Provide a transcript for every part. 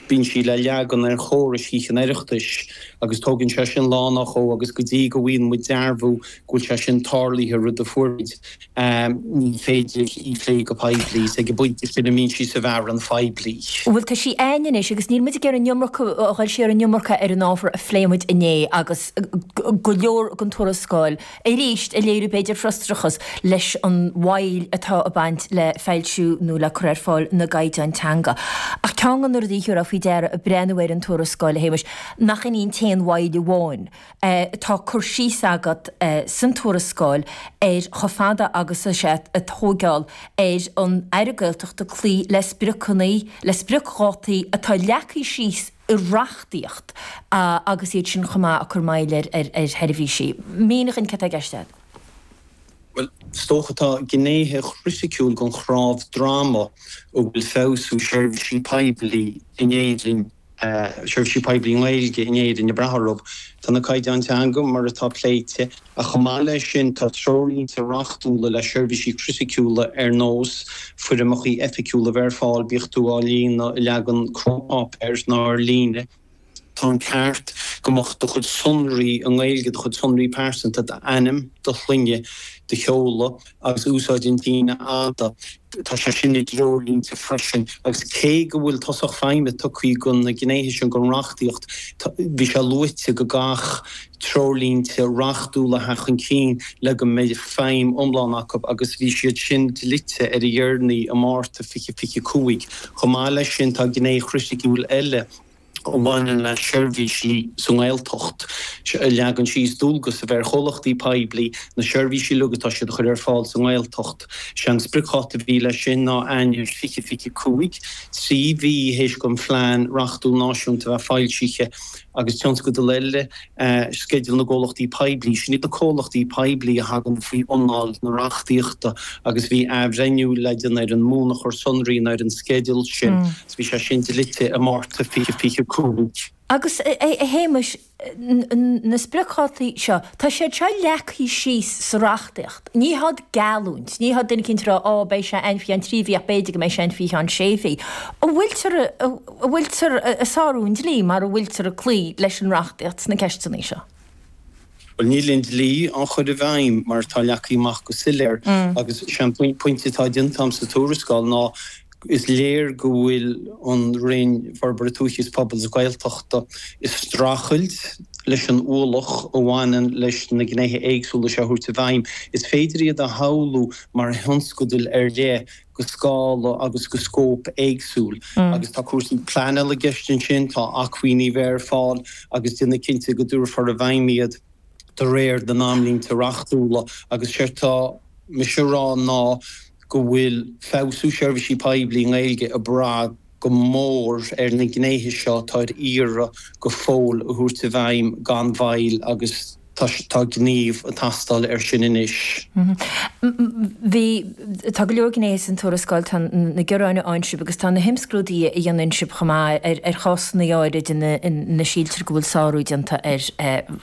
Bíonn sí le leagan ar chórais Thithe an Oireachtais agus tógann sé sin lá nó dhó agus go dtí go bhfaigheann muid dearbhú go bhfuil sé sin tarlaithe, rud a fuair muid, ní féidir í a phlé go poiblí. Is ag an bpointe sin a mbíonn sí sa bhfearann phoiblí. Bhuel, tá sí a'ainn anois agus níl muid ag iarraidh an iomarca, a dhul siar an iomarca ar an ábhar a phléigh muid inné agus go leor den tuarascáil arís ag léiriú b'fhéidir frustrachas leis an mhoill atá ag baint le foilsiú nó le cur ar fáil na gcaighdeán teanga. Ach ceann de na rudaí a thabharfá faoi deara ag breathnú ar an tuarascáil, a Shéamais, nach in í an t-aon mhoill amháin. Tá cur síos agat san tuarascáil ar chomh fada agus atá sé ag tóigeáil ar an Aire Gaeltachta cloí le spriocanna, le spriocdhátaí atá leagtha síos i reachtaíocht agus iad sin chomh maith ag cur moill ar sheirbhísí. Mínigh dhúinn céard atá i gceist agat. Bhuel, is dócha tá gnéithe chriticiúil den chnámh droma a bhfuil feabhsú seirbhísí poiblí in Éirinn, seirbhísí poiblí i nGaeilge in Éirinn ag brath orthu. Tá na caighdeáin teanga mar atá pléite, ach chomh maith leis sin tá treoirlínte reachtúla le seirbhísí criticiúla ar nós foirmeacha oifigiúla a bheith ar fáil, bíodh tú á líonadh i leagan cruapháipéir nó ar líne. Tá an ceart go mbeadh do chuid sonraí i nGaeilge, do chuid sonraí pearsanta, d'ainm, do shloinne, do sheoladh agus úsáid an tsíneadh fhada, tá sé sin i dtreoirlínte freisin. Agus cé go bhfuil tosach feidhme tugtha do na gnéithe sin den reachtaíocht, bhí sé luaite go gcaithfeadh treoirlínte reachtúla a theacht chun cinn le go mbeidh feidhm iomlán acu agus bhí siad sin dlite ar a dheireanaí i Márta 2025. Chomh maith leis sin tá gné chriticiúil eile a bhaineann le seirbhísí sa nGaeltacht, a leagann síos dualgas a bheith ar chomhlachtaí poiblí na seirbhísí uilig atá siad a chur ar fáil sa nGaeltacht. Sé an spriocdháta a bhí leis sin ná Eanáir 2025, 3 mhí théis don phlean reachtúil náisiúnta a bheith foilsithe. Agus tionscadal eile, Sceideal na gComhlachtaí Poiblí. Sin iad na comhlachtaí poiblí a thagann faoi anáil na reachtaíochta agus bhí athbhreithniú le déanamh ar an mbunachar sonraí nó ar an sceideal sin agus bhí sé sin dlite i Márta 2025. Agus, a Shéamais, na spriocdhátaí seo, tá siad seo leagtha síos sa reachtaíocht. Ní hiad geallúint, ní hiad duine eicínt ag rá, á, beidh sé ann faoi cheann 3 mhí ach b'fhéidir go mbeidh sé ann faoi cheann sé mhí. An bhfuiltear, an bhfuiltear ag sárú an dlí mar an bhfuiltear ag cloí leis an reachtaíocht sna ceisteanna seo? Bhuel, níl an dlí á chur i bhfeidhm mar atá leagtha amach go soiléir agus sé an pointe atá déanta agam sa tuarascáil ná Is léir go bhfuil an Roinn Forbartha Tuaithe is Pobail is Gaeltachta ag streachailt leis an ualach a bhaineann leis na gnéithe éagsúla seo a thabhairt i bhfeidhm. Is féidir iad a shamhlú mar thionscadail ar leith go scála agus go scóip éagsúil agus tá cúrsaí pleanála i gceist ansin, tá acmhainní a bheith ar fáil agus déanamh cinnte go dtabharfar i bhfeidhm iad de réir na n-amlínte reachtúla agus séard tá mise a rá ná go bhfuil feabhsú seirbhísí poiblí i nGaeilge ag brath go mór ar na gnéithe seo atá ar iarraidh go fóill a thabhairt i bhfeidhm gan mhoill agus tá gníomh ag teastáil air sin anois. Bhí, tá go leor gnéithe san tuarascáil, tá na gearáin a fhaigheann sibh agus tá na himscrúduithe a dhéanann sibh chomh maith ar ar chásanna áirid ina ina síltear go bhfuil sárú déanta ar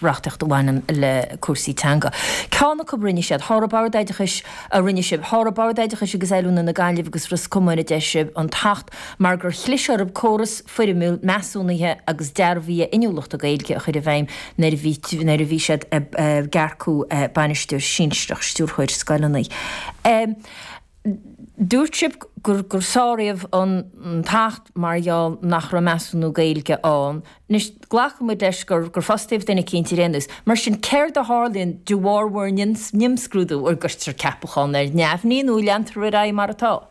reachtaíocht a bhaineann le cúrsaí teanga. Ceann acu a rinne siad, sháraigh Bord Oideachais a rinne sibh. Sháraigh Bord Oideachais agus Oiliúna na Gaillimhe agus Ros Comáin, a deir sibh, an tAcht mar gur chlis orthu córas foirmiúil measúnaithe agus dearbhaithe inniúlachta Gaeilge a chur i bhfeidhm nuair a bhí nuair a bhí siad ag earcú bainisteoir sinsearach, stiúrthóir scoileanna. Dúirt sibh gur gur sáraíodh an tAcht mar gheall nach raibh measúnú Gaeilge ann. Anois, glacfaidh muid leis gur gur fostaíodh duine eicínt ar aon nós. Mar sin, céard a tharlaíonn de bharr bhur n-imscrúdú? An gcuirtear ceapachán ar neamhní nó leantar ar aghaidh mar atá?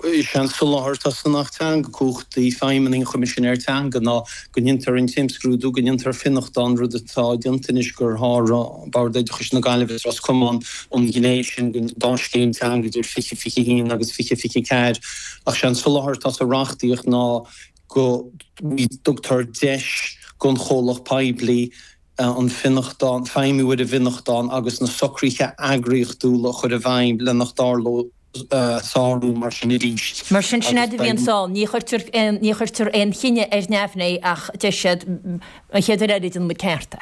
Is é an soláthar atá san Acht Teanga, cumhachtaí feidhmeannaigh an Choimisinéir Teanga, ná go ndéantar an t-imscrúdú, go ndéantar fionnachtán, rud atá déanta anois gur sháraigh Bord Oideachais na Gaillimhe is Ros Comáin an ghné sin den dá scéim teanga idir 2021 agus 2024. Ach sé an soláthar atá sa reachtaíocht ná go dtugtar deis don chomhlacht poiblí an fionnachtán, feidhmiú ar an bhfionnachtán agus na socruithe eagraíochtúla a chur i bhfeidhm le nach dtarlódh sárú mar sin arís. Mar sin, sin fhad a bhíonn ann, ní chuirtear aon, ní chuirtear aon chinneadh ar neamhní ach deir siad, an chéad uair eile déanfaidh muid ceart é.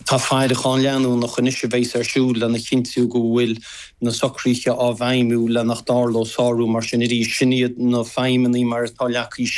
Tá faireachán leanúnach anois a bheas ar siúl lena chinntiú go bhfuil na socruithe á bhfeidhmiú le nach dtarlódh sárú mar sin arís. Sin iad na feidhmeanna mar atá leagtha síos.